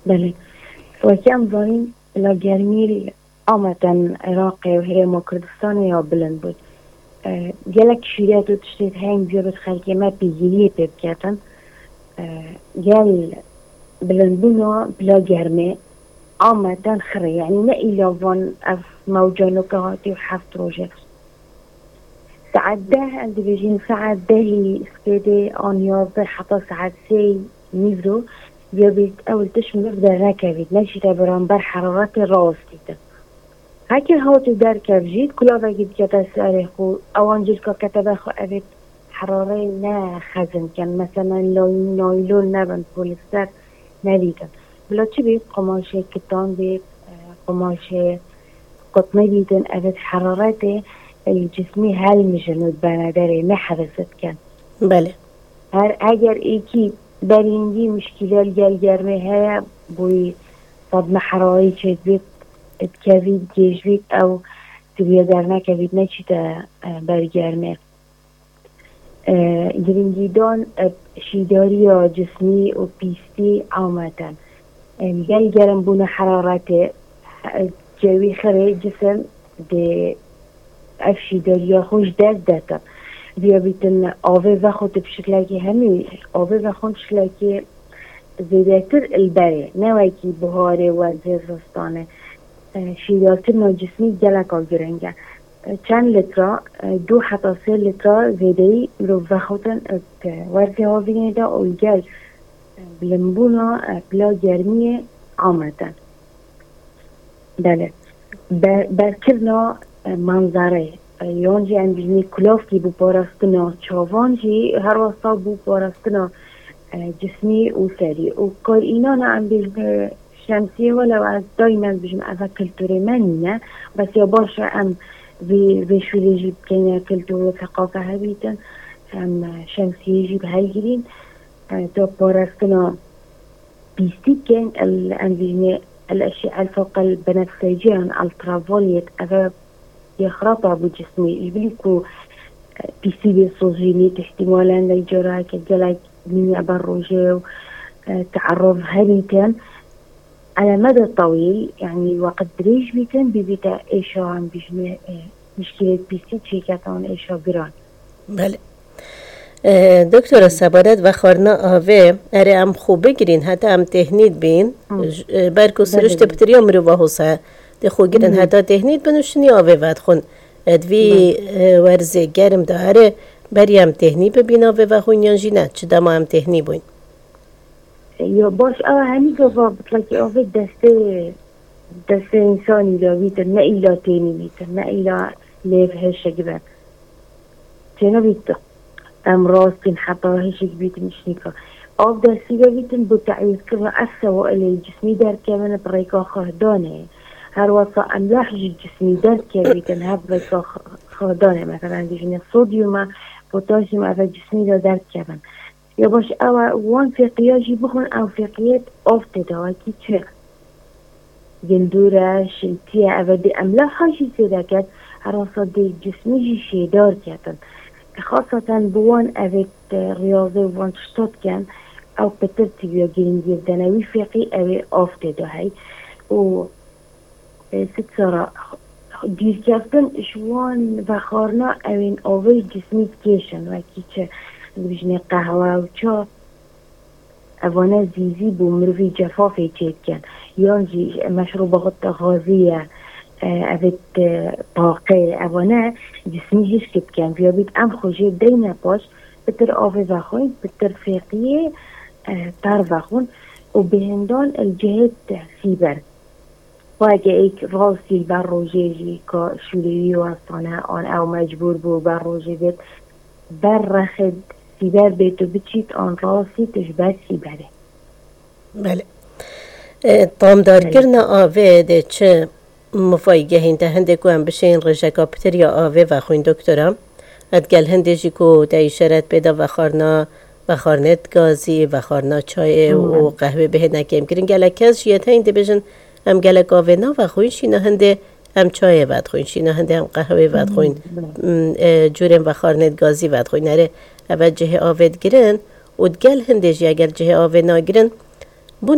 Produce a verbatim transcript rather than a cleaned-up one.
Belê. Wekî em zanîn, la germî ameten Iraqê û Herêma Kurdistanê ya bilind bûn. E, gelek şîret û tiştê heng biyabit xelkê me pêgiriyê pê biketin. E, gel bilindbûna bila germê ameten xirê. Yanî ne îla van ev mewca noke hatî û heft rojê. Saet deh, em dibêjin saet dehî spêdê an yazdeh heta saet sê nîvro, ya bît ew li tişt miriv dernekevît, neçîte beramber heraretê rawestîtin. Heke hat û derkev jî, kulavekî dikete serê xwe, ewan cilka kete ber xwe, evê herarê ne xezin ken. Meselen, lay-, naylon nebin, polîster nedîtin. Bila çi bît, qumaşê kitan bît, e, qumaşê qutnê bîtin, evê heraretê, e, cismî helmijin û bene derê, ne hevesê dikin. Belê. Her eger êkî berîngî mişkîle li gel germê heye, boyî sedme herarî çêdibît, dikevît, gêj bît, ew dibiye dernekevît, neçîte, e, ber germê. E, girîngîdan, e, şîdariya cismî û pîstî ameten. E, gel germ bûna heraretê, e, cewî xirê cisim dê ev şîdariya xwe ji dest detin. Biya bîtin avê vexwe tu bi şiklekî hemî, avê vexwe bi şiklekî zêdetir li berê. Ne wekî buharê, werzê, zistanê. E, şîdarkirina cismî geleka giring e. E, çend lîtra, e, du heta sê lîtra zêdeyî mirov vexwetin, e, werzê havînê de û li gel, e, bilimbûna, e, pila germiyê ameten. Belê. Be-, berkirina, e, manzareyê, e, yan jî em bînî kulavkî bû parastina çavan jî her wesa bû parastina, e, cismî û serî. Û kar înana em bêjin, e, şemsiyê welew ez daîmen dibêjim eve kulturê me nîne. Bes ya baş e em vê, vê şûlê jî bikeyne kultur û seqafe hebîtin. Em, e, şemsiyê jî bi hev girîn. E, da parastina pîstî kên el, em bînê el eşî el fewq el benefsecî yan ultraviolet, eve yê xirab e bo cismî. Ji bilî ku, e, pîstî bê sozînî, îhtîmalen lê careke gelek mîne ber rojê û, e, teerof hebîtin. Ele mede tewîl, yanî weqt dirêj bîtin, bibîte êşa, em bîjinê, e, mişkilê pîstî çêketan êşa giran. Belê. E, doktora, sebanet vexwarina avê, erê em xwe bigirîn, heta em têhnî dibîn, Hı. j-, e, ber ku Belê, siriştê belê. Pitiriya mirova hose, tê xwe girin Hı hı. Heta têhnî dibin û şinî avê vedixwin. E, di vî, Belê. E, werzê germ de erê, berî em têhnî bibîn avê vexwin yan jî ne? Çi dema em têhnî bûyn? Ya baş, ew hemî gava bitlekî avê destê, destê însanî de bîtin, ne îla tênî bîtin, ne îla lêv hişik be. Têne bît em rastîn heta hişik bîtin şnîka. Av destî de bîtin bo te'wîzkirina ev sewailê cismî derkevin bi rêka xihdanê. Her wesa emlah ji cismî derkevîtin, hev rêka xi-, xihdanê, mesela, dijîne sodyum e, potasyum, eve cismî de derkevin. Ya baş ew e, wan fêqiya jî bixwin, ew fêqiyê av tê de, wekî çi? Gindûr e, şiltî ye, eve dê emlaha jî zêde ket, herasa dê cismî jî şêdar ketin. Xasaten bi wan evê, e, riyazê û van tişta dikin, ew pitir tibiya girîngî dene. Wî fêqî ew ê av tê de hey. Û, e, sitsara dûrkeftin ji wan vexwarina ewên avê cismî dikêşin, wekî çi, dibijinê qehwe û ça. Evane zîzî bo mirivî cefafê çêdikin. Yan jî meşrûbat gazî ye, e, evê taqê, evane cismî hişk dikin. Viya bît em xwe jê deyne paş, pitir avê vexwin, pitir fêqiyê, e, ter vexwin û bêhindan li cihê sîber. Weke êk rastî li ber rojê jî ka şûleyî westane an ew mecbûr bû ber rojê bêt, ber rexê sîber bêt û biçît an rastî tu ji ber sîberê. Belê. E, tamdarkirina avê dê çi mifayî gehîn te hindê ku em bişên rêjeka pitir ya avê vexwîn doktora? Et gel hindê jî ku te îşaret pê da vexwarina, vexwarinê gazî, vexwarina çayê û Hmm. qehwê bihêne kêmkirin. Gelek kes jî yê te hîn dibêjin, em gelek avê navexwîn, şîna hindê em çayê vedixwîn, şîna hindê em qehwê vedixwîn, Hmm. m, e, cûrên vexwarinê gazî vedixwîn. Erê, eve cihê avê digirin û digel hindê jî eger cihê avê nagirin,